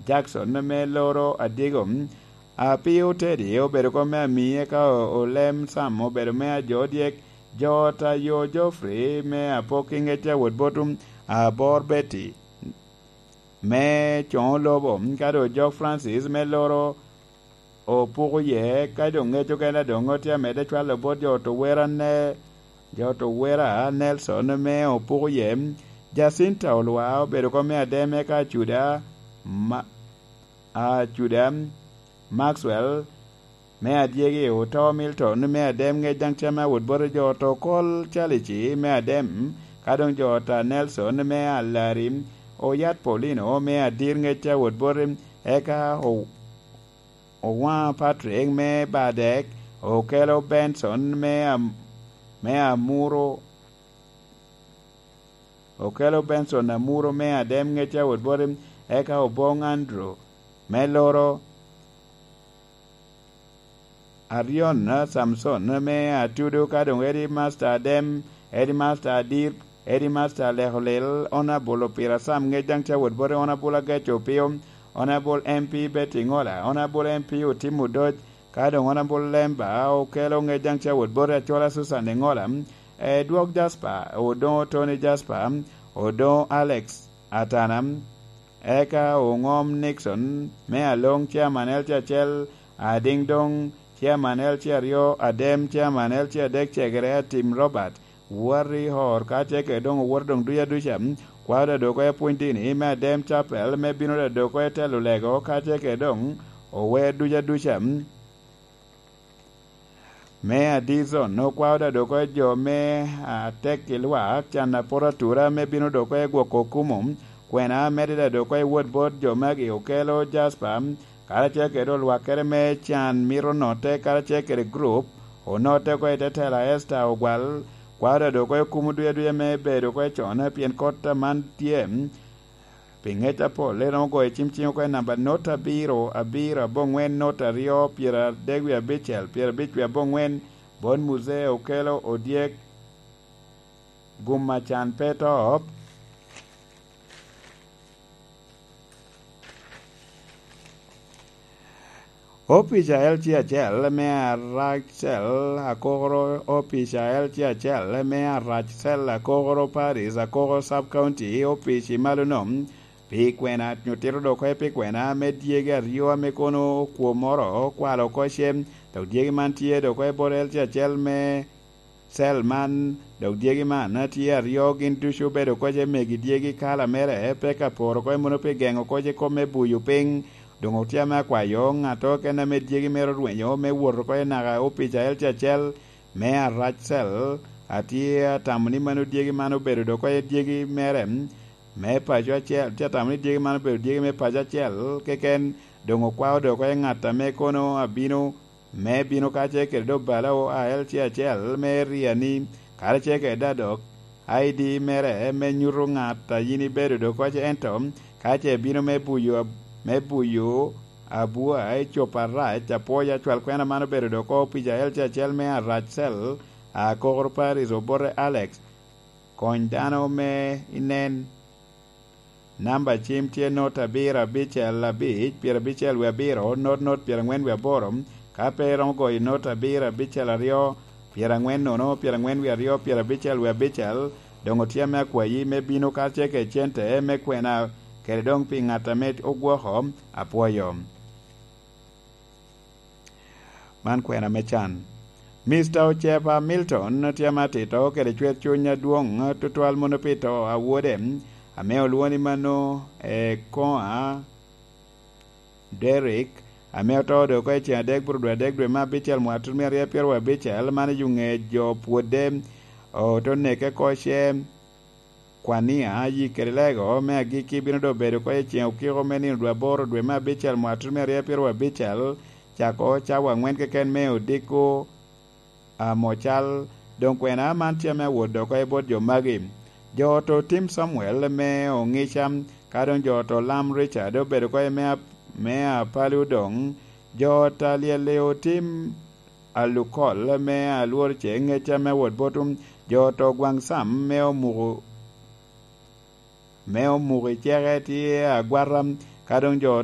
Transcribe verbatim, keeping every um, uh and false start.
Jackson me loro adyego. Apio Teddy obedo kop me amiye ka o-, olem Sam obedo me ajo dyek. Jota yo Geoffrey me apok i ŋec a wot botum. Abor Betty me coŋo lobo, ka doŋ Jock Francis me loro opuko ye, ka doŋ ŋec okene doŋ tye amedde cwalo bot jo Towera ne, jo Towera Nelson me opuko ye. Jacinta Olwa obedo kop me ademe ka Acuda ma, Acuda Maxwell me adyegi oto Milton me adem ŋec daŋ cam me awot bote jo oto kol Calici me adem, ka doŋ jo ota Nelson me alari oyat Paulino me adir ŋec a wot bote, eka o-, owaŋ Patrick me badek okelo Benson me am-, me amuro, okelo Benson amuro me adem ŋec a wot bote, eka oboŋ Andrew me loro Arion, Samson me atudo, ka doŋ Eddie Master adem, Eddie Master adir, Eddie Master aleko lel, Honorable Opira Sam ŋec daŋ ca wot bote, Honorable Agaco Opio, Honorable M P Betty Ŋola, Honorable M P Otim Odoc, ka doŋ Honorable Lemba okelo ŋec daŋ ca wot bote, Acola Susan Eŋola, Edwok Jasper, Odoŋo Tony Jasper, Odoŋo Alex Atana, eka Oŋom Nixon me Aloŋ, Chairman L C acel, Adiŋ Doŋ, Chairman L C aryo, Adem, Chairman L C adek, Cegere Atim Robert, Wari Hor, ka tye kede doŋ owoto doŋ duc aduca, kwao da doko i apwony dini me Adem Chapel, me bino da doko i telo lego, ka tye kede doŋ ower duc aduca. Me adizon, okwao da doko i jo me atek i lwak, can a poto atura me bino doko i gwoko okumo, kwena medde da doko i wot bot jo magi okelo Jasper, karacel kede olwakere me can mito note karacel kede gurup, onotte oko i te tela Esta Ogwal, kwao da doko i okumo duya duya me bedo oko i con, pien kot aman tye, pi ŋec apol, en ogoyo cim cing oko i namba not abiro, abiro, aboŋwen, not aryo, pyeradek wie abicel, pyerabic wie aboŋwen, bot Muzee okelo odyek, gum a can pe to. Opica L C acel me Aracel Akokoro, Opica L C acel me Aracel Akokoro Paris, Akokoro Sub County, opic i malo nom, pi kwena, nyutito dok oye pi kwena me dyegi aryo ame kono kwomoro okwalo oko cem, dok dyegi man tye dok oye bot L C acel me cel man, dok dyegi man tye aryo, gin ducu obedo koc i megi dyegi kala mere, pe ka poro koc mono pi geŋo koc i kop me buyo piny. Doŋ otye ame akwayo ŋat okene ame dyegi mere orwenyo me wot oko i naka opica L C acel me Aracel, atye atamo ni mano dyegi man obedo dok koc dyegi mere me paco acel, tye atamo ni dyegi man obedo dyegi me paco acel keken, doŋ okwao dok koc ŋat ame kono abino me bino kacel kede obalo a L C acel me Riani, karacel kede Dadok, I D mere me nyuto ŋat a yin ibedo dok koc, ento ka ce bino me buyo, me buyo abua i copo arac, apwoyo acwal kwena man obedo dok opica L C acel me Aracel, a Kokoro Paris obote Alex, kony dano me inen. Namba cim tye not abiro abicel abic, pyerabicel wie abiro, not not pyerangwen wie aboro. Ka pe iromo goyo not abiro abicel aryo, pyerangwen nono, pyerangwen wie aryo, pyerabicel wie abicel, doŋ otye ame akwayi me bino karacel kede cente me kwena, kede doŋ pi ŋat ame ogwoko, apwoyo. Man kwena me can. Mister Ocepa Milton tye ame atito kede cwer cuny adwoŋ tutwal mono pi to a wode, ame olwoŋo ni mano Ekoa Derrick, ame oto dok oko i ceŋ adek bur dwe adek dwe me abicel mwaka tutumia aryo pyeraryo abicel, man i yuŋe jo pwodde oto neke oko ce. Kwania, yik kede lego me agikki bino doŋ bedo oko i ceŋ okiko me nino dwe aboro dwe me abicel mwaka tutumia aryo pyeraryo abicel, cako cawa aŋwen keken me odiko amo cal. Doŋ kwena man tye ame awot dok oko i bot jo magi. Jo oto Tim Samuel me Oŋica, ka doŋ jo oto Lam Richard obedo oko i me ap-, me Apalu doŋ. Jo oto Alyel Otim Alukol me Alwor ce Ŋeca me wot botum. Jo oto Gwaŋ Sam me Omuko, me Omuko i ceke tye agwata, ka doŋ jo